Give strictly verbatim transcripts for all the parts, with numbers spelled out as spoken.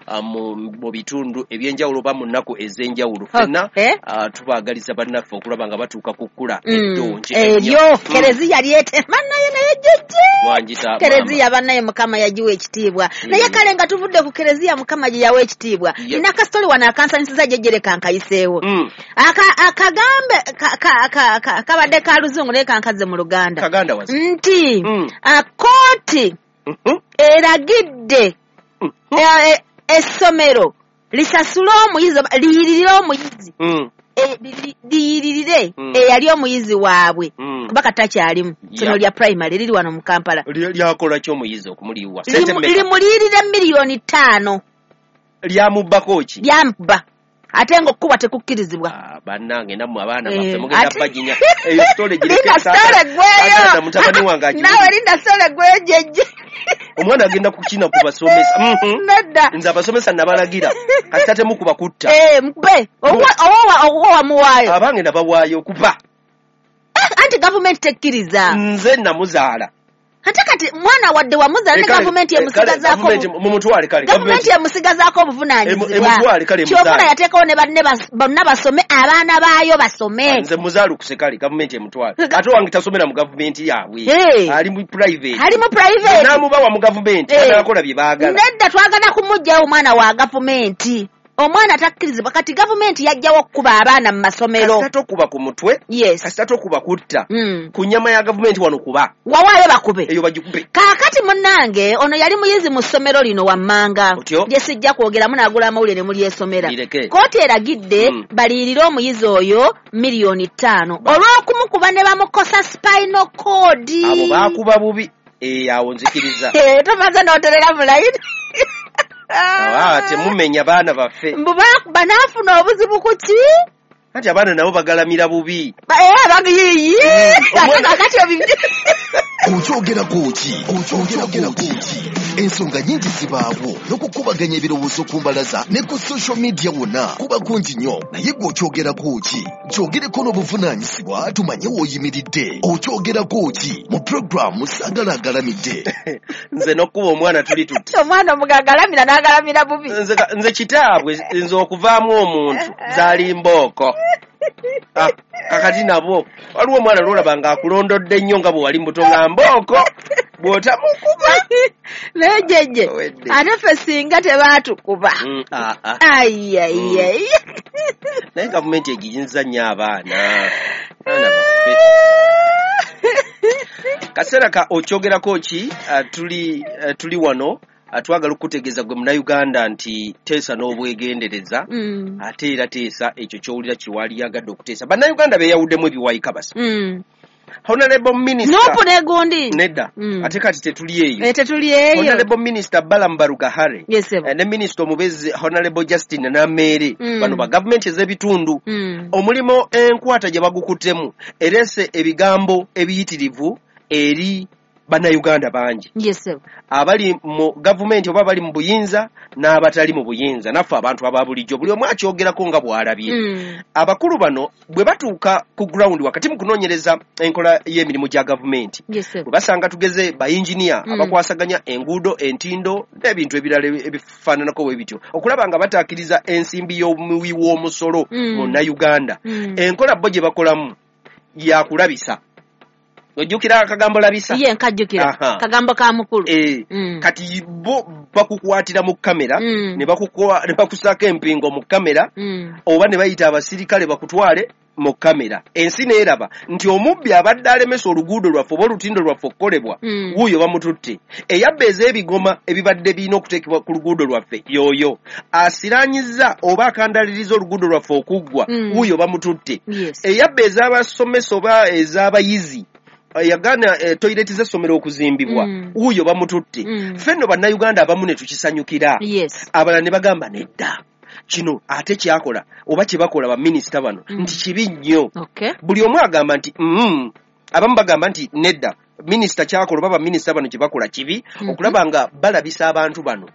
uh, mu, mu bitundu ebyenjawulo oba mu nnaku ez'enjawulo. Ffenna Okay. uh, tubaagaliza bannaffe okulaba nga batuuka ku kkula Mm. eddungi Eryo ennyo. kereziya lyetema naye naye jjejje. Mwangita. Kereziya bannaye Mukama yagiwa ekitiibwa. Naye kale nga tuvudde ku kereziya Mukama gye yawa ekitiibwa, Yep. nina akasitoli wano akansanyusiza, jjejje, kankayiseewo. Mm. Aka- akagambe ka- ka- ka- ka- kabadde ka Luzungu naye kankaze mu Luganda. Kaganda wazi. Nti Mm. ah, kooti Mhm. eragidde Mhm. e- e- essomero lisasule omuyizi oba liyiririre omuyizi, Mm. e- li- liyiririre Mm. eyali omuyizi waabwe, Mm. kuba katakyalimu Yeah. sono lya primary liri wano mu Kampala. Lya- lyakola ki omuyizi okumuliwa? Sente Limu- mmeka? Limuliyirire miliyoni ttaano. Lyamubbako ki? Lyamuba, ate nga okukubwa tekukkirizibwa. Ah, bannange, nammwe abaana Eh, baffe mugenda ate- baginya eyo story. Gireke. Linda story gweyo. Mutabani wange agiwulire. Naawe linda story gweyo, jjejje. Omwana agenda kukina ku basomesa. Mhm. Nedda. Nze abasomesa nabalagira, kasita temukuba kutta. Eh, mukube. Owa owa wamuwaayo. Abange nabawaayo kuba Eh, anti gavumenti tekkiriza. Nze namuzaala. Ate kati mwana wadde wamuzaala, ne Eh, kale- gavumenti eh, kale, emusigazaako gavumenti mumutwale kale. Gavumenti emusigazaako Emu- obuvunaanyizibwa. Emutwale kale, Kyovuna emuzaale. yateekawo ne banne bas- bonna basome, abaana baayo basome. Nze muzaalukuse, kale gavumenti emutwale. Ate wange tasomera mu gavumenti yaabwe, Eh. ali mu private. Ali mu private. Namubawa mu gavumenti, Eh. anakola bye baagala. Nedda, twagala kumuggyawo omwana wa gavumenti. Omwana takkirizibwa. Kati gavumenti yajjawo okukuba abaana mu masomero. Kasita tokuba ku mutwe, Yes. kasita tokuba kutta Mm. ku nnyama ya gavumenti wano kuba Wawaayo bakube. Eyo bagikube. Kaakati munnange, ono yali muyizi mu ssomero lino wammanga Otyo? lye sijja kwogeramu, naagula amawulire ne mulyesomera. Lireke. Kooti eragidde Mm. baliyirire omuyizi oyo miliyoni ttaano olw'okumukuba ne bamukosa spinal cord. Abo baakuba bubi. Eh, awo nzikiriza. Eh, tomaze n'oterera mulayini. Ah, temumenya baana baffe. Mbu baakuba n'afuna obuzibu ku ki? Anti abaana nabo bagalamira bubi. Ba- era bagiyiyi ate Omwana- kakati obibi. Okyogerako ki? Okyogerako ki? Ensonga nyingi zibaawo n'okukubaganya ebirowoozo ku mbalaza ne ku social media wonna kuba kungi nnyo, naye gwe okyogerako ki? Kyogereko n'obuvunaanyizibwa tumanye w'oyimiridde. Okyogerako ki mu puroguramu Saagala Agalamidde. Nze n'okkuba omwana tuli tuti. Omwana omugagalamira n'agalamira bubi. Nze ka- nze kitaabwe, nze okuvaamu omuntu zaali mbooko. Ah, kakati nabo waliwo omwana lwolaba ng'akulondodde nnyo nga bwe wali muto nga mbooko bw'otamukuba. Naye jjejje, Owedde. ate ffe singa tebaatukuba. Mm, ah, ah. Ayiayiayi. Naye gavumenti egiyinza nnyo abaana, abaana baffe. Kaseera ka okyogerako ki. ah, tuli ah, tuli wano, ah, twagala okukutegeeza gwe Munnayuganda nti teesa n'obwegendereza. Mm. Ate era teesa ekyo ky'owulira kiwaliyagadde okuteesa. Bannayuganda beeyawuddemu ebiwayi kabasa. Mm. Honorable Minister Nuupu negundi. Nedda. Mm. Ate kati tetuli eyo. Eh, tetuli eyo. Honorable Minister Balaam Barugahare Yes, sir. eh, ne minisita omubeezi Honorable Justin Nameere, Mm. bano ba gavumenti ez'ebitundu, Mm. omulimo enkwata gye bagukuttemu ereese ebigambo ebiyitirivu eri Bannayuganda bangi Yes, sir. abali mu gavumenti oba abali mu buyinza n'abatali mu buyinza, naffe abantu aba bulijjo, buli omu akyogerako nga bw'alabye. Mm. Abakulu bano bwe batuuka ku ground wakati mu kunoonyereza enkola y'emirimu gya gavumenti, Yes, sir. bwe basanga tugeze bayinginiya Mm. abakwasaganya enguudo, entindo n'ebintu ebirala ebifaananako bwe bityo, okulaba nga bataakiriza ensimbi y'omuwi w'omusolo Mm. Munnayuganda, Mm. enkola bo gye bakolamu yakulabisa. Ojjukira akagambo labisa? Ye nkajjukira. Aha. Kagambo ka mukulu. Eh, Mm. kati bo bakukwatira mu kamera, Mm. ne bakukwa- ne bakusaako empingo mu kamera, Mm. oba ne bayita abasirikale bakutwale mu kamera, ensi neeraba nti omubbi abadde alemesa oluguudo lwaffe oba olutindo lwaffe okukolebwa, Mm. wuuyo bamututte. Eyabba ez'ebigoma ebibadde birina okuteekebwa ku luguudo lwaffe, y'oyo asiranyiza oba akandaliriza oluguudo lwaffe okuggwa, Mm. wuuyo bamututte. Yes. Eyabba ez'abasomesa oba ez'abayizi, yagaana eh, toyireti z'essomero okuzimbibwa, Mm. wuuyo bamututte. Mm. Ffe nno Bannayuganda abamu ne tukisanyukira, Yes. abalala ne bagamba nedda, kino ate kyakola oba kye bakola baminisita bano Mm. nti kibi nnyo. Okay. Buli omu agamba nti mm, abamu bagamba nti nedda, minisita kyakola oba baminisita bano kye bakola kibi, Mhm. okulaba nga balabisa abantu bano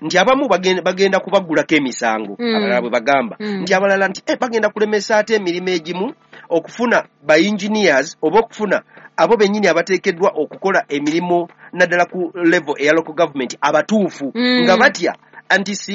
nti abamu bagenda, bagenda kubaggulako emisango, Mm. abalala bwe bagamba Mm. nti abalala nti eh, bagenda kulemesa ate emirimu egimu okufuna ba engineers oba okufuna abo bennyini abateekeddwa okukola emirimu naddala ku level eya local government abatuufu, Mm. nga batya nti si